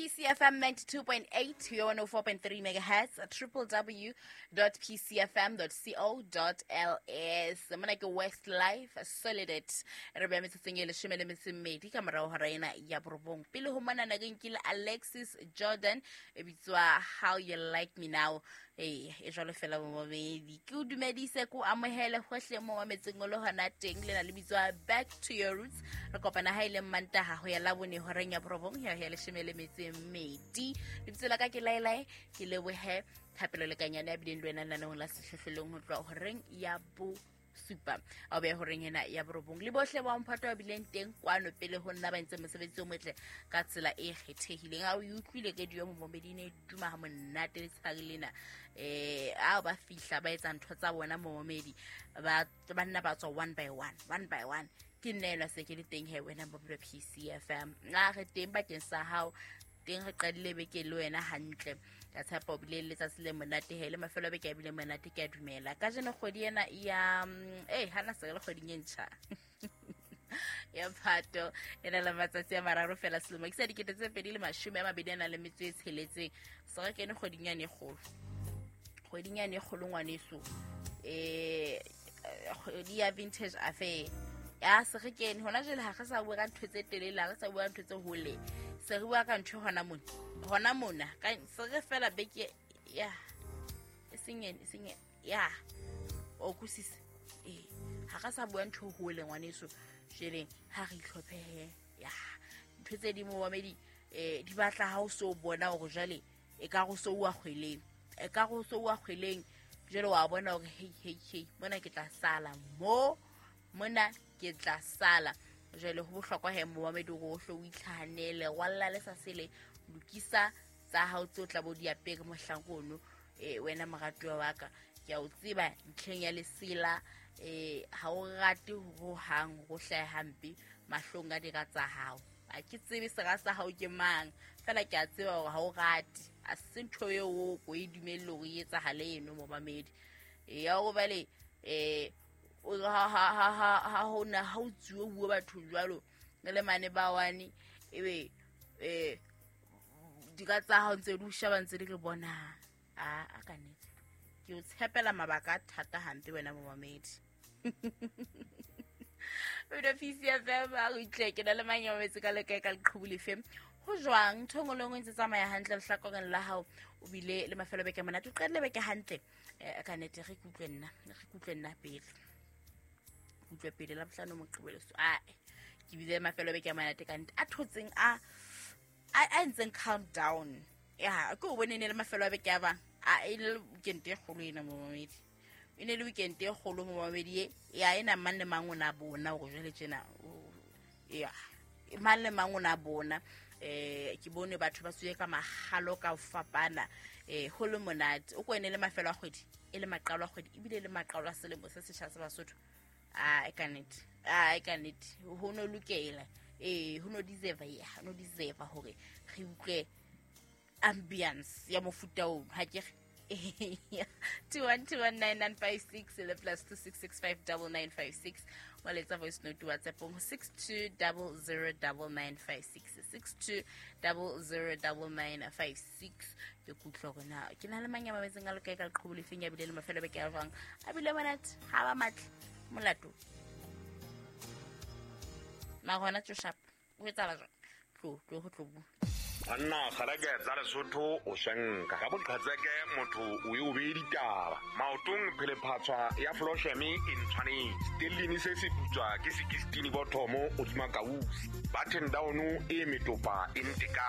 PCFM 92.8 to 104.3 megahertz, www.pcfm.co.ls. Mona ke West Life Solid. Re beya metsotsong e 12 ka morao hora ena ya 9. Pele ho mona na ke nkile Alexis Jordan e bitswa How You Like Me Now. Ee, e jwalo fela momamedi. Ke o dumedise, ke o amohele hohle mo mametseng o le hona teng. Lena le bitswa Back to Your Roots. Re kopana ha e le Mantaha ho ya Labone horeng ya 9 ya ho ya 12. Lebitso la ka ke Laelae, ke lebohe Thapelo Lekanyane ya bileng le wena lenaneong la Sehlohlolong ho tloha horeng ya 7 a o beha horeng ena ya 9. Le bohle ba mphato ba bileng teng kwano pele ho nna ba entse mosebetsi o motle ka tsela e kgethehileng. Ha o e utlwile radio momamedi ne duma ha monate letshehare lena. A ba fihla ba etsa ntho tsa bona momamedi, ba nna ba tswa one by one, one by one. Ke nna elwa se ke le teng he wena Mobile PCFM. A re teng bakeng sa hao, teng re qadile beke le wena hantle. Ka tshepa o bile le letsatsi le monate he, le mafelo a beke a bile monate, ke a dumela. Kajeno kgwedi ena ya, hana se re le kgweding e ntjha. Ya Phato e na le matsatsi a 3 fela selemo ke sa 2026. Se re kene kgweding yane e kgolo. Kgweding yane e kgolo ngwaneso. Kgwedi ya Vintage Affair. Ya se re kene hona jwale, ha re sa bua ka ntho tse telele, ha re sa bua ka ntho tse hole. Se re bua ka ntho hona mona. Hona mona, ka se re fela beke ya e seng ene, e seng ene. Ya. O kusisa. Ha re sa bua ntho hole ngwaneso. Jwale ha re itlhophehe. Ya. Ntho tse ding momamedi, di batla ha o so bona hore jwale e ka go so wa kgweleng. E ka go so wa kgweleng. Jwale wa bona hore hey, hey, hey, mona ke tla sala mo, mona ke tla sala. Jwale ho bohlokwa he momamedi hore o hle o itlhahanele, rwalla le sa sele, lokisa tsa hao tseo tla bo di apere mohlang ono. Wena moratuwa wa ka, ke a o tseba ntlheng ya lesela, ha o rate ho hang ho hlahe hampe mahlong a dira tsa hao. Ha ke tsebe sera sa hao ke mang, fela ke a tseba hore ha o rate. A se ntho eo o ko e dumelle hore e etsahale eno momamedi. Ya hore bale, o ha, ha, ha, ha, ha hona, ha o tsuwe bua batho jwalo, le mane ba wane, ebe, dika tsa hao ntse di o sheba ntse di re bona. A ka nnete. Ke o tshepela mabaka a thata hampe wena momamedi. Wena PCFM, a re utlwe, ke na le mang ya mametse ka lekae ka leqhubu lefe? Ho jwang? Ntho e nngwe le nngwe e ntse tsamaya hantle lehlakoreng la hao, o bile le mafelo a beke a monate, o qadile beke hantle. Ka nnete, re kutlwe nna, re kutlwe nna pele. Kutlwe pele, Labohlano, Moqebelo, so, ae, ke bile le mafelo a beke a monate ka nnete. A thotseng, a entseng countdown. Ya, ke o bone ne le mafelo a beke a bang. A, e le weekend e kgolo ena momamedi. E ne le weekend e kgolo momamedi e. Ya, ena mang le mang o na bona hore jwale tjena, o, ya, mang le mang o na bona. Ke bone batho ba tswile ka mahalo ka ho fapana. Ho le monate. O ko ene le mafelo a kgwedi, e le maqalo a kgwedi, ebile le maqalo a selemo se setjha sa Basotho. A, e ka nnete. A, e ka nnete. Ho no lokela. Ho no deserve, ya, ho no deserve hore re utlwe ambience ya mofuta oo. Ha ke re. 21219956 le plus two six six five double nine five six. Wa letsa voice note WhatsApp ho six two double zero double nine five six, six two double zero double nine five six. Ke kutlwa hore na ke na le mang ya mametseng a lokae ka leqhubu lefeng ya bile le mafelo a beke a jwang. A bile monate, ha ba matle, molato. Mara hona tjo sharp. O etsahala jwang? Tlo, tlo ho tlo bua. Banna kgaleke tsa Lesotho o swenka. Ka boqhetseke motho o e o beye ditaba. Maotong phelephatshwa ya Flosheme e ntshwanetse. Stellini se se putswa ke 16 bothomo hodima kausi. Button down e metopa e nteka.